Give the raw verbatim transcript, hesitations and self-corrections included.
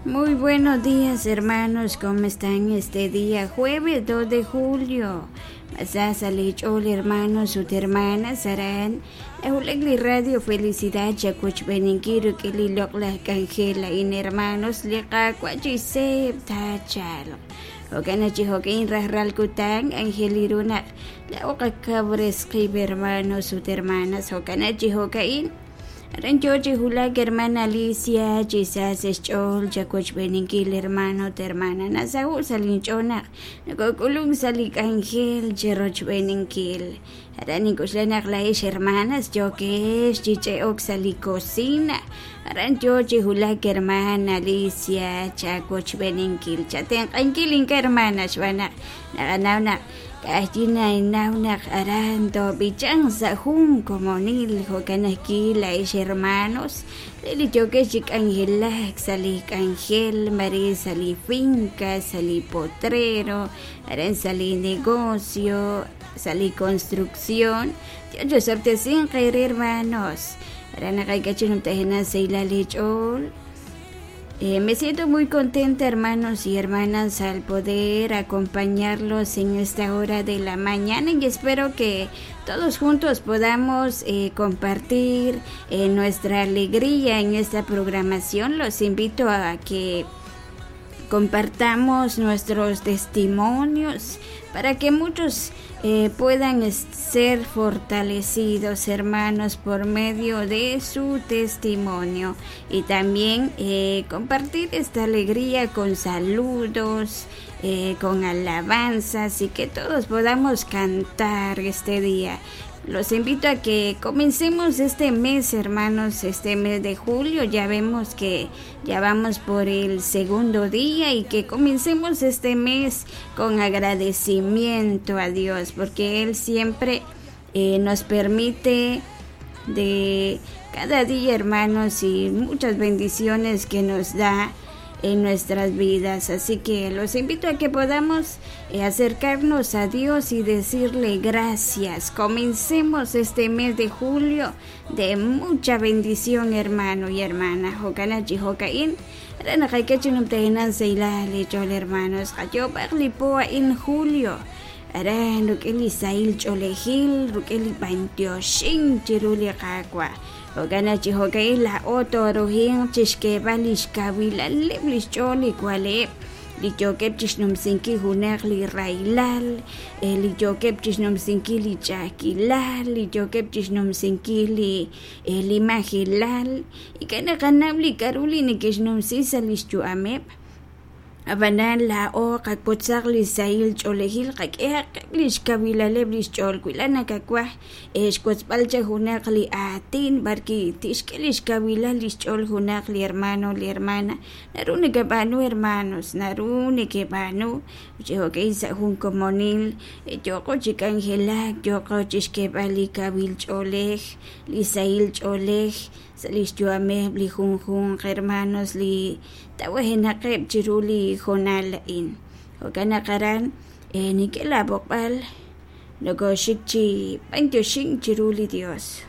Muy buenos días, hermanos, ¿cómo están este día? Jueves dos de julio. Masasa lich'ol, hermanos, ut hermanas, aran. Nahulak li radio Felicidad chakuchbeninki ruk'ili loq'laj k'anjel in hermanos li qaawa' chi seeb' taachalq. Jo'kan chi jo'kin rajlal kutan anjeliru naq laa'o qakawres qib' hermanos ut hermanas jo'kan chi jo'ka'in. Aran yo chi hulak hermana Alicia chi sa sa xch'ool chakuchb'eninkil hermano ut hermana nasahu' sa linch'ool naq nokok'ulunk sa li k'anjel chirochb'eninkil. Aran nink'uxla naq la'ex hermanas yokex chi ch'e'ok sa li cocina. Aran yo chi hulak hermana Alicia chakuchb'eninkil chatenq'ankil inka hermana xb'aan naq naqanaw naq k'ajyina inaw naq aran tob'ichan sa jun komonil jo'kan ajki la'ex hermanos li yokex chi k'anjelak sa li k'anjel mari sa li finca sa li potrero aran sa li negocio sa li construcción Dios yosabtesin qere hermanos aran naqaykachinum tajena sayla lich'ool. Eh, me siento muy contenta, hermanos y hermanas, al poder acompañarlos en esta hora de la mañana y espero que todos juntos podamos eh, compartir eh, nuestra alegría en esta programación. Los invito a que compartamos nuestros testimonios para que muchos eh, puedan ser fortalecidos, hermanos, por medio de su testimonio y también eh, compartir esta alegría con saludos, eh, con alabanzas y que todos podamos cantar este día. Los invito a que comencemos este mes, hermanos, este mes de julio. Ya vemos que ya vamos por el segundo día y que comencemos este mes con agradecimiento a Dios, porque Él siempre eh, nos permite de cada día, hermanos, y muchas bendiciones que nos da en nuestras vidas. Así que los invito a que podamos eh, acercarnos a Dios y decirle gracias. Comencemos este mes de julio de mucha bendición, hermano y hermana. Jo'kan chi jo'ka'in aran naqayk'e seila lich'ool hermanos qayob'aq li po a'in julio aran ruk'in li sahil ch'oolejil ruk'in li b'antioxin chiru li Qaawa'. Jo'kan chi jo'ka'in la'o torujin chixk'eeb'al li xkawilaleb' li xch'ool li waleb' li yookeb' chixnumsinkil junaq li raylal, eh, li yookeb' chixnumsinkil li ch'a'ajkilal, li yookeb' chixnumsinkil li, eh, li majilal ink'a' naqanaw li k'a'ru li neke'xnumsi sa li xyu'ameb'. Ab'anan la'o qakotzaq li sahil ch'oolejil qak'ehaq li xkawilaleb' li xch'ool wi la nakawaj xwotzb'al cha junaq li aatin b'arki tixk'e li xkawilal li xch'ool junaq li hermano li hermana naru nekeb'aanu hermanos naru nekeb'aanu chi jo'ka'in sa jun komonil yooqo chi k'anjelak yooqo chixk'eeb'al li kawil ch'oolej li sahil ch'oolej sa li xyu'ameb' li junjunq hermanos li tawajenaqeb' chiru li jonal a'in. Jo'kan naq aran eh, nink'e laab'oqb'al nokoxik chi b'antioxin chiru li Dios.